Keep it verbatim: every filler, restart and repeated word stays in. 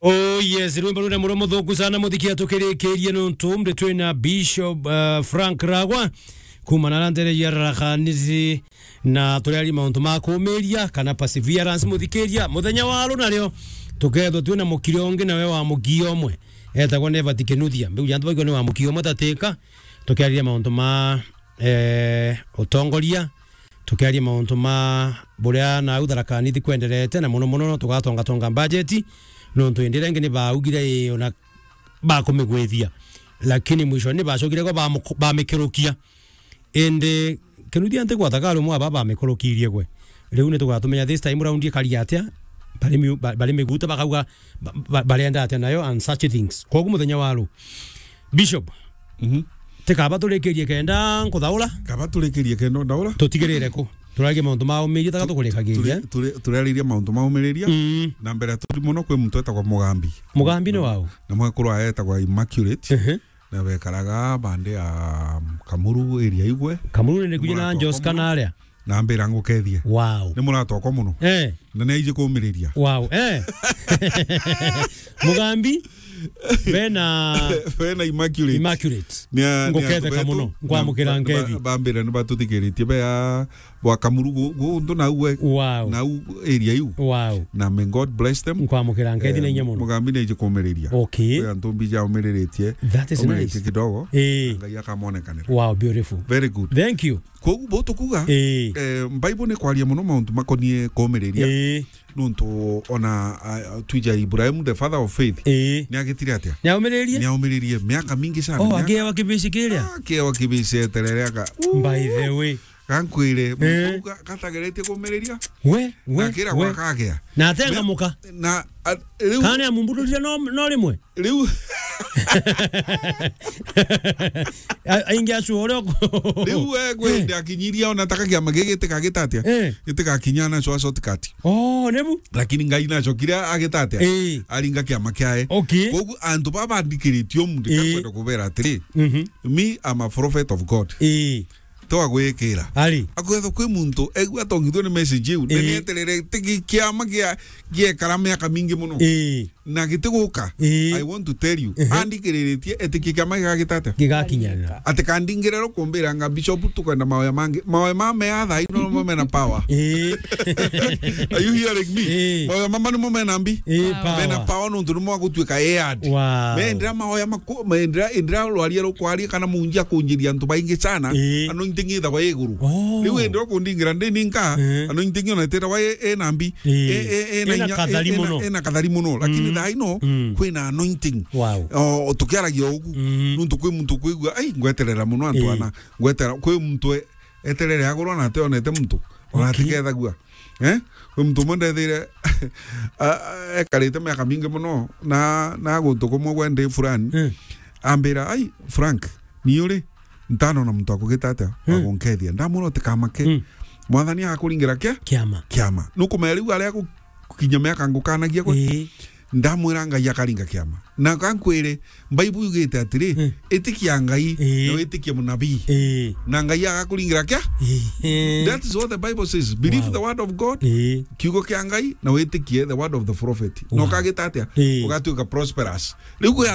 Oh yes, rwimbo rune muromo thuku sana, muthikia tukirikirie nuntu ndi twina Bishop, uh, Frank Ragwa, kuma na ntere ya Rakanisi, na turiaria mauntu ma kumiria kana perseverance. Muthikiria, muthenya wa runario tukethwa twina mukiri ungi nawe wa mukia umwe, etagwa Never Tikenuthia. Mbiu jantu bagwa ni wa mukia umwe tatika, tukiariria mauntu ma, eh, utongoria, tukiaria mauntu ma buria nau Tharaka Nithi kwenderete, na muno muno no tugatongatonga budget, nontu indi iria ingi ni baugire ii ona bakumigwithia, lakini mwisho ni bacokire kwa bamuku-, bamikerukia. Indi Kinuthia nti gwata kari umwe aba bamikurukirie gwe. Riu ni tugatumenya this time round ikari atia, bari miu-, ba-, bari miguta bakauga ba-, ba-, barenda atia nayo and such things. Kogu muthenya wa ru, Bishop, Mhm. tikaba turikirie kenda nkuthaura? Kaba turikirie kenda ndaura? Tutigirire ku? Turarie mauntu ma umiriria, taka tukurikagiria. Turi-, turi-, turaririe mauntu ma umiriria. Mm. Na mbere turi muno kwi muntu etagwa Mugambi. Mugambi ni wau? Na mwekuru aetagwa Immaculate. Ehe. Na bekaraga bande ya Kamuru area igwe. Kamuru ni kuja na Muratoka Joska muno. Na aria. Na ambira ngukethie. Wow. Ni muratokwa muno. Eh. Na ni aiji kumiriria. Wow. Eh. Mugambi, bena Bena Immaculate. Immaculate. Ni a-, ni nguketheka antu betu. Muno. Nkwamukira na ba-, nkethi. Ba-, bambira ni batuthikiritie be a bwa Kamuru gu-, gu-, ndu nau we. Wow. Nau area iu. Wow. Na may God bless them. Nkwamukira nkethi na inya muno. Mugambi ni aiji kumiriria. Okay. Kwi antu mbija umiriritie. That is nice. Kidogo. Eh. Ngai akamonekanira. Wow, beautiful. Very good. Thank you. Kogu bo tukuga, eh, eh, Bible ni kwaria muno mauntu makonie kumiriria. Eh. Nuntu ona, ah, twija Ibrahim, the father of faith, eh, ni agitire atia? Ni aumiririe? Ni aumiririe miaka mingi sana. Oh, miaka akewa kibici kiria? Ah, akewa kibici eterere aka. By the way. Gankwire, eh, muntu ga-, gatageretie kumiriria. We, we, akira we. Gwaka agea. Na atengamuka. Me-, na, a, riu kana amumbuthirie no, no rimwe? Riu. A-, aingi acio uria uko-, riu we gwende akinyiria ona taka kiama gigi gitikagitate atia? Eh. Gitikakinya na cwa shortcut. Oh, nebu? Lakini Ngai nacokire agitate atia? Eh. Aringa kiama kiae. Okay. Kogu antu baba bandikiritie umu, eh, ndikakwenda kubera atiri, mhm, me, I'm a prophet of God. Eh. Twagwikira. Ari. Akwetha kwi muntu, egua atongithue ni message iu, eh, ni eterere tiki kiama gia, giekara miaka mingi muno. Eh. Na gitiguka. Ii. I want to tell you. Ehe. Andikiriritie, etikia kiama gigagita atia? Gigakinyanira. Ati kandingire rukumbira nga bishop tukwenda maoya mangi. Maoya ma mea thaa ino no mena power. Ii. Are you hearing me? Ii. Maoya mama nimo mena mbi? Ii, power. Mena power nontu nimo agutuika aired. Wow. Mendira maoya maku-, mendira, indira rwaria rukwaria kana munji akunjiria antu baingi sana. Ii. Anointing ithagwa iguru. Oh. Riu indira kundingira ndi ninka, ii, anointing ona itirawa i-, ina mbi. Ii. E, e, ena inya, kathari e, ena, muno. Ena kathari muno. Lakini, mm, thaa ino, mm, kwina anointing. Wow. O, tukiaragia ugu, mm, nuntu kwi muntu kwigua, "Ai, ngweterera muno antu, ii, ana." Ngweterera, kwi muntu e-, eterere agurwa na ationete muntu. Ona, okay, atikethagua. Eh? Kwi muntu umwe ndethire, a, a, ekarite miaka mingi muno, na, na guntu kumwe gwe ndi fulani. Mm. Ambira, "Ai, Frank, ni uri?" Ntanona muntu akugita atia, hmm, wa gunkethia. Ndamwira, "Utikamake. Hmm. Mwathani agakuringira kia? Kiama. Kiama." Nukumenya riu aria gukinya miaka ngukanagia gwe? Ii. Ndamwira Ngai akaringa kiama. Na kankwire, Bible yugite atiri, hmm, itikia Ngai, ii, na witikie munabii. Ii. Na Ngai agakuringira kia? Ii. That is what the Bible says. Believe, wow, the word of God, ii, kiugo kia Ngai, na witikie the word of the prophet. Wow. Na ukagita atia? Ii. Ugatuika prosperous. Riu kwi